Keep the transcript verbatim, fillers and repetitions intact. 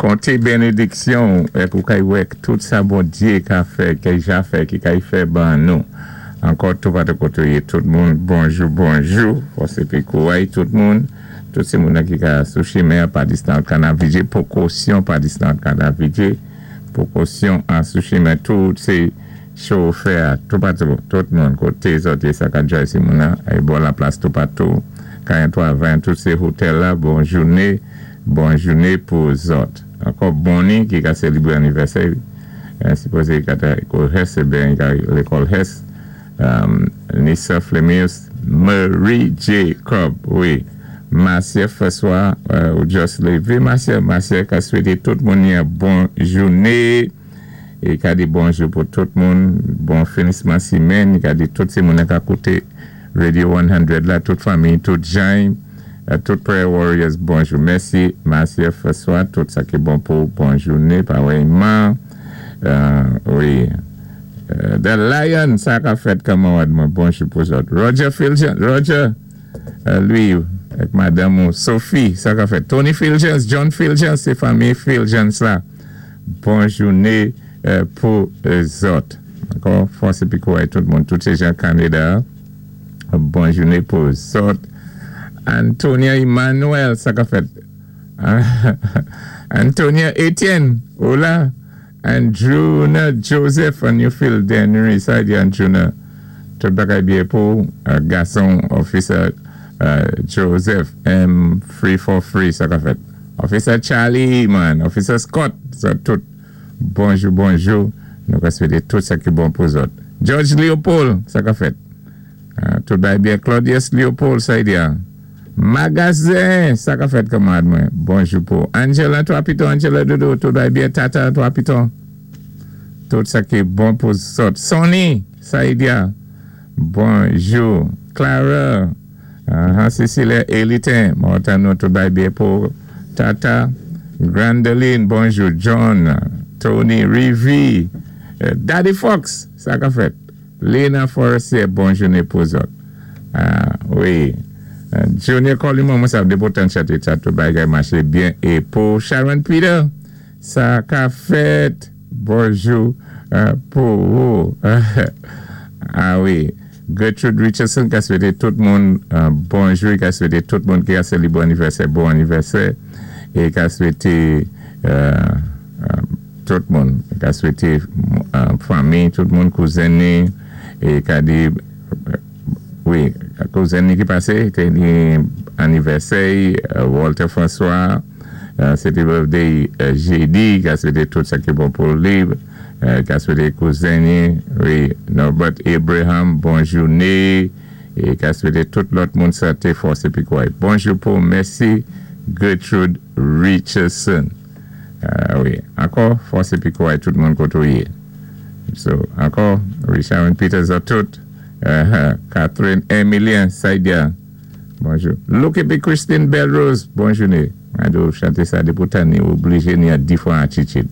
Konté bénédiksyon èk ou kay wè tout sa Bondyé ka fè, ki ja fè, ki kay fè ban nou. Ankò toupatou koté ou yé tout moun, bonjou, bonjou. Fòs épi kouway tout moun. Tout sé moun ki ka sou chimen pa distan ka navigé, pwékosyon pa distan ka navigé. Pwékosyon an sou chimen tout sé chofè toupatou, tout moun koté zòt sa ka djay si moun e bon la plas toupatou. karantwa ven, tout sé otèl la, bon jouné, bon jouné pou zòt. Ankò Bonnie ki ka sélébré anivèsè, sipozé ka ta ékòl Hess, ben lékòl Hess, um, Nissa Flemius, Marie Jacob, wi. Marcia François, euh, ou just lévé, Marcia, Marcia ka swété tout moun yon bon jouné, é ka di bonjou pou tout moun, bon finisman simenn, ka di tout sé moun ka kouté Radio san la, tout fanmi, tout jan, euh, tout Prayer Warriors, bonjou. Mèsi, Marcia François, tout sa ki bon pou bon jouné, parèyman. Euh, wi. Euh, The Lion, sa ka fèt kanmarad mwen, bonjou pou zòt. Roger Filgens, Roger, euh, lui, avèk madanm Sophie, sa ka fèt. Tony Filgens, John Filgens, sé fanmi Filgens la. Bon jouné euh, pou zòt. Ankò, fòs épi kouway tout moun, tout sé jan Kanada. Bon jouné pou zòt. Antonia Emmanuel, sa ka fèt. Antonia Etienne, hola. Andrewna Joseph, and Newfield Dennery, sa di Andrewna. Tout bagay byen pou uh, gason officer uh, Joseph M three four three, sa ka fèt. Officer Charlie, man, Officer Scott, sa tout. Bonjou, bonjou. Nou ka swété tout sa ki bon pou zòt. George Leopold, sa ka fèt. Uh, tout bagay byen. Claudius Leopold, sa di Magazen, sa ka fèt kanmarad mwen. Bonjou pou Angela Trois Pitons, Angela Doudou, tout bagay byen. Tata Trois Pitons. Tout sa ki bon pou zòt. Sonny, sa di bonjou. Clara, uh, Cecilia Elitin, Mortano, tout bagay byen pou Tata. Grandeline, bonjou. John, Tony, Rivi, euh, Daddy Fox, sa ka fèt. Lena Forestier, bonjou pou zòt. Ah, wi. Uh, Junior Colimon, mwen sav depotan chante sa tout bagay maché byen. É pou Sharon Peter, sa ka fèt. Bonjou uh, pou ou. Ah wi. Gertrude Richardson ka swété tout moun uh, bonjou, ka swété tout moun ki a sélébré anivèsè, bon anivèsè. É ka swété euh, euh, tout moun, ka swété euh, fanmi, tout moun kouzen é ka di wi, kouzen ki pasé, té anivèsè, Walter François, sé té birthday jédi, ka swété tout sa ki bon pou li, ka swété kouzen wi, Norbert Abraham, bon jouné, é ka swété tout lòt moun santé fòs épi kouway. Bonjou pou mèsi Gertrude Richardson. Uh, wi, ankò, fòs épi kouway tout moun koté ou yé. So, ankò, Richard Peters a tout. Uh, Catherine Emilien Saidia. Bonjou. Luke épi Christine Belrose, bon jouné. Mwen dwé chanté sa dépoutan ni oblijé ni a di fwa an chichit.